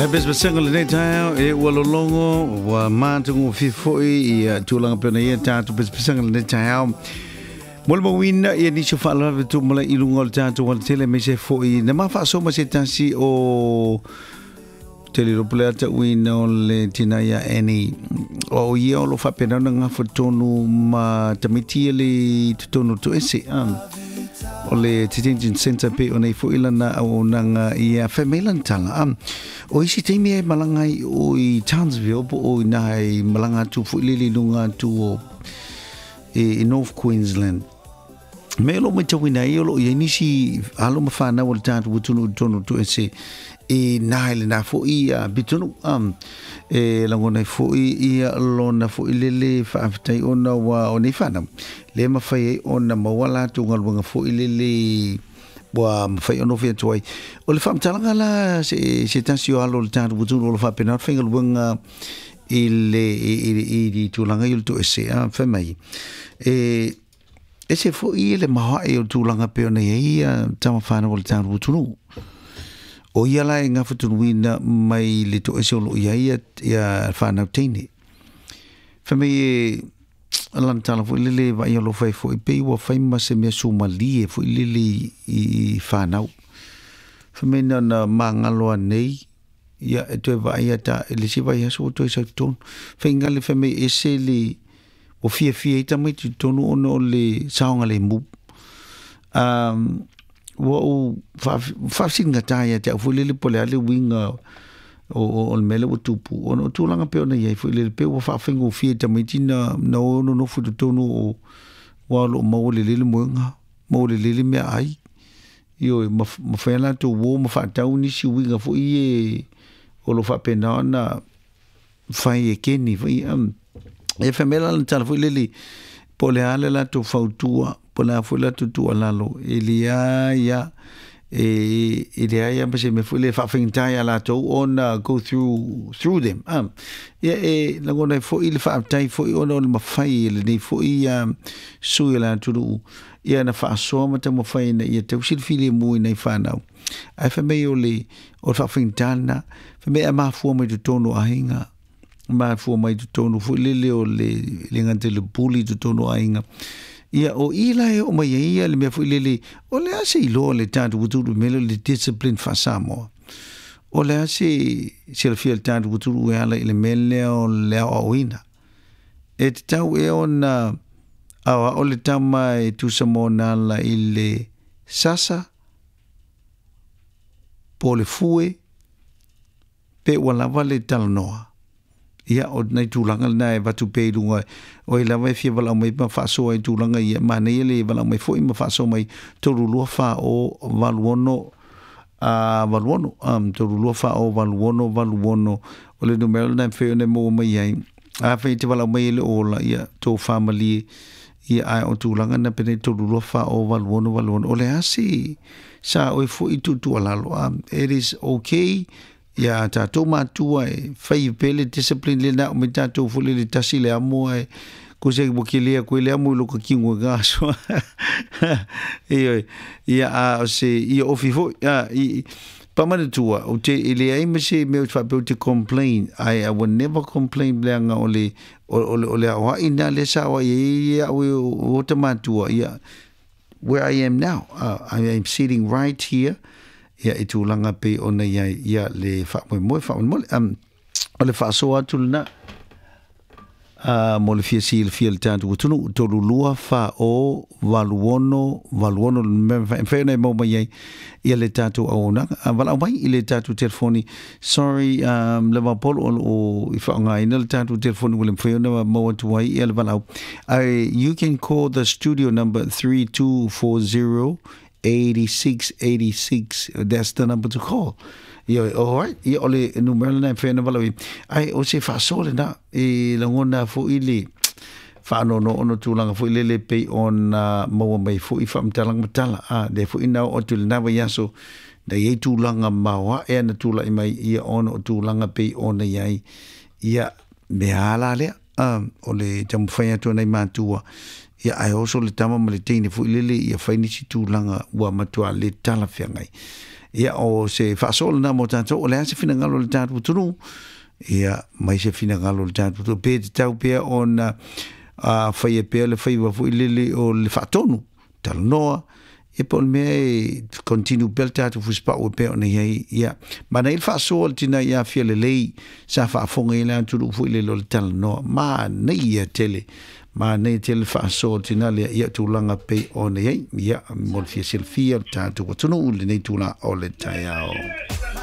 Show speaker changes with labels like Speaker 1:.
Speaker 1: Le pesepesega o lenei taeao e ua lologo ua matagofie foi ia tulaga pei ona i ai tatou pesepesega lenei taeao. Molimauina ia nisi o faalavelave tupu malai i luga o le tatou alatele aemaise foi na ma faasoa ma se tasi o te le iloa po o le a tauina o le tina ia Annie. O ia o lo o faapena ona gafa tonu ma tamaiti ia le i totonu o Toese. O le detention centre pei ona i foi lana auaunaga ia fai mai lana tala. O isi taimi e malaga ai o i Townsville po o ina e malaga atu foi lele i luga atu o i North Queensland. Me o lo o matauina ai o lo o i ai nisi alo ma fanau a le tatou atunuu i totonu o Toese i nā i lenā foi pitonuu. E lagona ai foi ia lona foi lele faafetai ona ua o nei fanau lea e mafai ai ona maua latou galuega foi lele ua mafai ona ofi atu ai. O le faamatalaga la se, se tasi o alo o le tatou atunuu o lo o faapena ona faigaluega i le i le tulaga i o le toese, fai mai e ese foi le maoae o le tulaga pei ona i ai ia tama fanau o le tatou atunuu. O ia la e gafatonuina mai le toese o lo o i ai ia fanau teine. Fai mai e lana tala foi lele vaai alofa ai foi pei ua fai ma se mea sumalie foi lele i fanau. Fai mai na ona magalo anei ia e toe vaai ata i le isi vaiaso ua toe sau i totonu. Faiga le fai mai ese le ua fiafia ai tamaiti i totonu ona o le saogalemu. Ua ou faafesilgata ia te au foi lele po o le a le uiga o le mea lea ua tupu ona o tulaga pei ona i ai foi lele pei ua faafaigofie i tamaiti na o nonofo i totonu o aua o lo o maua lelei le moega, maua lelei le meaai. Ioe, ma fai a latou uo ma faatau nisi uiga foi ie o lo o faapena ona fai e keni foi. E fai mai la lana tala foi lele, po o le a le latou fautua, po o le a foi le latou tuualalo, e leai lava, e leai lava ma se mea foi lele e faafaigata ia latou ona go through them. Ia e lagona ai foi le faafetai foi ona o le mafai e lenei foi sui o le atunuu ia na faasoa ma taumafai ina ia tausi le filemu i nai fanau. Ae fai mai o le faafaigata lena, fai mai a mafua mai totonu o aiga, mafua mai totonu foi lele o le le gata i le bully i totonu o aiga. Ia o i la e oo mai ai ia le mea foi lele, o le a se iloa le tatou atunuu i le mea lea o le discipline faa-Samoa? O le a se silafia e le tatou atunuu e ala i le mea lea o le aoaoina? E tatau ea ona aoao le tama e tusa ma ona ala i le sasa po o le fue pe ua lava le talanoa? Ia, o nai tulaga lena e avatu pea i luga, o ai lava e fia valaau mai ma faasoa i tulaga ia, manaia le valaau mai foi ma faasoa mai 32 4 0 8 6, 86, 32 4 0 8 6 86, o le numera lena e mafai ona e maua mai ai. Afai e te valaau mai e le o ola, ia, tofa malie, ia, ae o tulaga na penei 32 4 0 8 6 8 6, o le a se sa oe foi tuutuualalo, it is okay ia tatou matua e fai pea le discipline lena o mai tatou foi lele tasi le amo ae ko se ua kele aku ai le amo i lo ka kingo e ka aso. Ioe, ia a o se ia ofi foi a i pamanatua o te e leai ma se mea o te faapea o te complain I will never complain leaga o le o le o le aoai na le sa aoai ai ia au e o ta matua ia where I am now I am sitting right here ia i tulaga pei ona i ai ia le faamoemoe faamolemole o le faasoa atu lena mo le fia silafia le tatou atunuu 32 4 0 8 6 8 6 e mafai ona e maua mai ai ia le tatou auaunaga. Valaau mai i le tatou telefoni. Sorry, le Vaupolo o lo o i faaaogaina le tatou telefoni ua le mafai ona maua atu ai ia le valaau. Ae you can call the studio number 3240 86 86. That's the number to call. Ia, all right. Ia, o le numera lena e mafai ona valaau i. Ae o se faasoa lena e lagona foi le faanoanoa ona o tulaga foi lele pei ona maua mai foi faamatalaga matala. A, lea foi na oo atu i lena vaiaso, na i ai tulaga maoae na tulai mai ia ona o tulaga pei ona i ai ia mea la lea. A, o le taumafai atu a nai matua, ia ae oso le tama ma le teine foi lele ia fai nisi tulaga ua matua le talafeagai. Ia o se faasoa lena mo tatou, o le a se finagalo o le tatou atunuu? Ia mai se finagalo o le tatou atunuu, pe tatau pea ona faia pea le faiva foi lele o le faatonu talanoa, ia po o le mea e continue pea le tatou fusipau e pei ona i ai. Ia manaia le faasoa o le tina ia Fialelei sa faafofoga i le atunuu foi lele o le talanoa. Manaia tele, manaia tele le faasoa o le tina lea, ia tulaga pei ona i ai. Ia mo le fia silafia o le tatou atunuu i lenei tula o le taeao.